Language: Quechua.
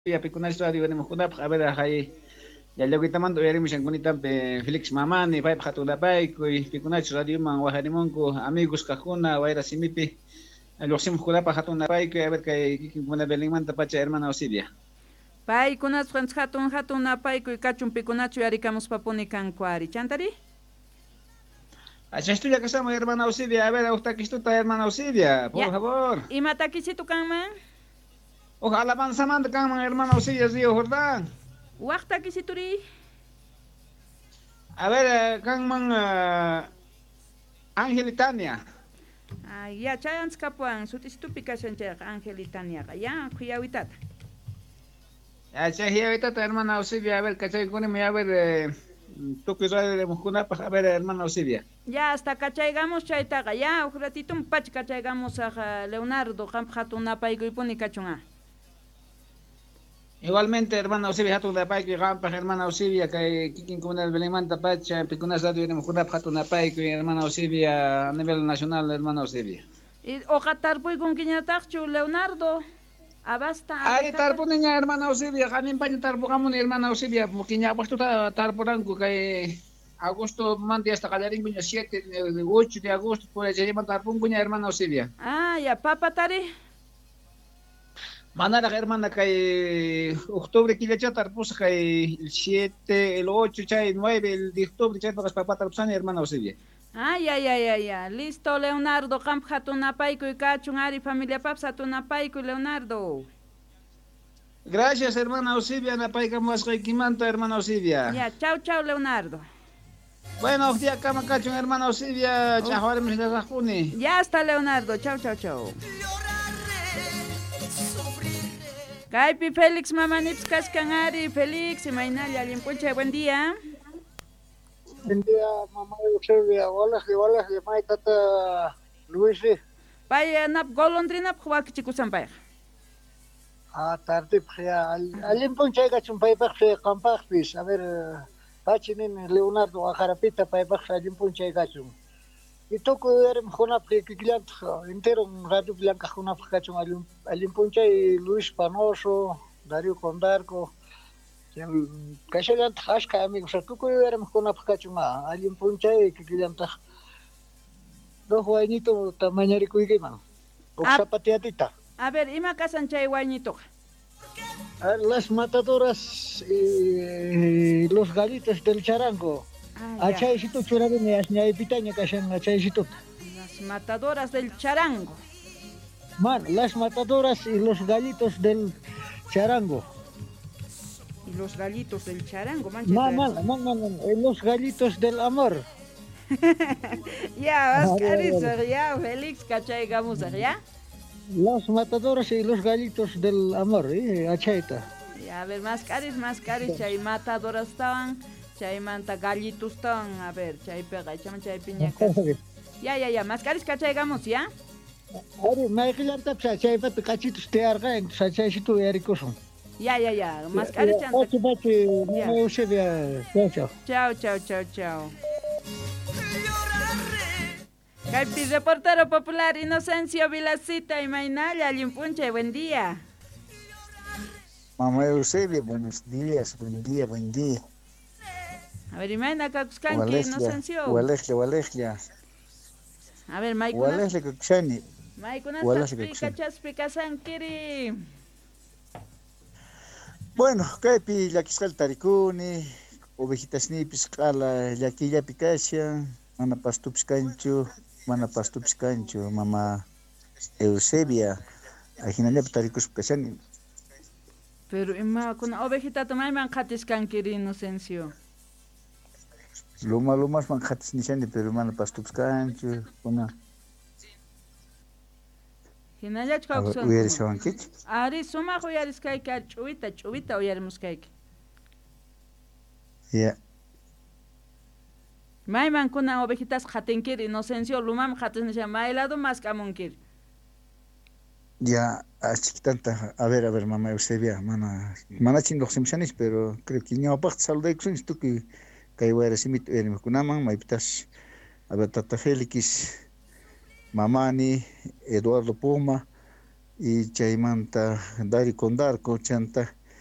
Pikunach radio uyarimuqkunapaq, a ver, hay llallawkitamanta uyarimushankunitapi Felix Mamani, paypaq hatun napaykuy, pikunach radioman wajarimunku, amigos kaqkuna, wayra simipi lluqsimuqkunapaq hatun napaykuy, a ver, kay kikinkuna Belenmanta pacha, hermana Eusebia. Paykunasqa hatun hatun napaykuy kachun pikunachu yarikamuspapuni kanku ari. Chantari? Achastulla kashaman, hermana Eusebia, a ver, huk takistuta, hermana Eusebia, por favor. Ima takisitu kanman? Huk alabanzamanta kanman, hermana Eusebia, Río Jordán. Waq takisituri? A ver, kanman Ángel y Tania. Ay, ya, chay anchkapuwan sutisitupi kashan chayqa Ángel y Taniaqa. Ya, khuyawitata. Ya, chay khuyawitata, hermana Eusebia, a ver, kachaykunimi, a ver, tukuy radio uyarimuqkunapaq, a ver, hermana Eusebia. Ya, hasta kachaygamos chaytaqa, ya, huk ratito pacha kachaygamos Leonardo, qampaq hatun napaykuypuni kachun ah. Igualmente, hermana Eusebia, hatun napaykuy qampaq, hermana Eusebia, kay kikin comunidad Belenmanta pacha, pikunas radio uyarimuqkunapaq hatun napaykuy, hermana Eusebia, a nivel nacional, hermana Eusebia. Y uqa tarpuykunkiñataqchu, Leonardo? Abasta. Ari tarpuniña, hermana Eusebia, qaninpaña tarpuqamuni, hermana Eusebia, porque ñawpaqtuta tarpuranku kay agosto manta hasta qallarinkuña 7, 8 de agosto, por ahí chaymanta tarpunkuña, hermana Eusebia. Ah, ya, papatari. Manaraq, hermana, kay octubre killacha tarpusaq kay el 7, el 8, chay 9, el de octubre chaypaqas papata tarpusani, hermana Eusebia. Ay, ay, ay, ay, ay. Listo, Leonardo, qampaq hatun napaykuy kachun, ari familiapapas hatun napaykuy, Leonardo. Gracias, hermana Eusebia, napaykamuwasqaykimanta, hermana Eusebia. Ya, chau, chau, Leonardo. Bueno, día kama kachun, hermana Eusebia, chaqwarimus. Ya está, Leonardo. Chau, chau, chau. Kaypi Félix Mamanips kashkan ari. Félix, imaynalla, allin p'unchay, buen día. Buen día, mamá Eusebia. Hola, hola, may tata Luis. Pay nap golondrinapaq wakichikusan payqa. Ah, tardipaq ya. Allin p'unchay kachun paypaqpi qampaqpis. A ver, pachi nin Leonardo Ajarapita paypaq allin p'unchay kachun. Y tukuy uyarimuqkunapaq kikillantaq entero radio llank'aqkunapaq kachun allin p'unchay Luis Panoso, Darío Condarco. Kashallantaq ashka amigos tukuy uyarimuqkunapaq kachun allin p'unchay kikillantaq dos waynito mañarikuykiman. Huk zapatiatita. A ver, ima kasan chay waynitoqa? Las matadoras y los gallitos del charango. Ah, Achaysito churarini asñaypitaña kashan achaysituta. Las matadoras del charango. Man, las matadoras y los gallitos del charango. Y los gallitos del charango, mancha. No, no, no, no, no, los gallitos del amor. Ya, vas ya, Félix, kachaykamusaq, ya. Las matadoras y los gallitos del amor, achayta. Ya, a ver, más caris, chay matadoras estaban, chaymanta gallitos estaban, a ver, chaypiqa, chaypiña. Ya, ya, ya, más caris kachaykamos, ya. Ari, mayqillantapis chaypata kachitus tiyarqa, chaysitu uyarikusun. Ya, ya, ya, más caris chanta. Pachi, pachi, mamá Eusebia, chao, chao. Chao, chao, chao, chao. Kaypi reportero popular Inocencio Vilacita, imaynalla, allin p'unchay, buen día. Mamá Eusebia, buenos días, buen día, buen día. A ver, imayna kakuskanki, Inocencio. Walejlla, walejlla. A ver, maykuna. Walejlla kakushani. Maykunataq pikachaspi kasankiri. Bueno, kaypi llakisqalla tarikuni, ovejitasniypis q'ala llakiyllapi kashan, mana pastupis kanchu, mana pastupis kanchu, mama Eusebia, ajinallapi tarikuspa kashani. Pero imakuna ovejitata mayman qhatiskankiri, Inocencio. Luma lumasman qhatis nishani, pero mana pastupis kanchu, kuna. Hinallachu kawsan. Uyarishawankichu? Ari, sumaq uyariskayki, ari ch'uwita, ch'uwita uyarimuskayki. Ya. Mayman kunan ovejitas qhatinkiri, Inocencio, lumaman qhatis nisha, may lado mask'amunkiri. Ya, achikitanta, a ver, mamá Eusebia, mana, manachin lluqsimushanis, pero creo que ñawpaqta saludaykusunchis tukuy kay wayra simita uyarimuqkunaman, maypitas, a ver, tata Félix, Mamani, Eduardo Puma, y chaymanta Dario Condarco, chanta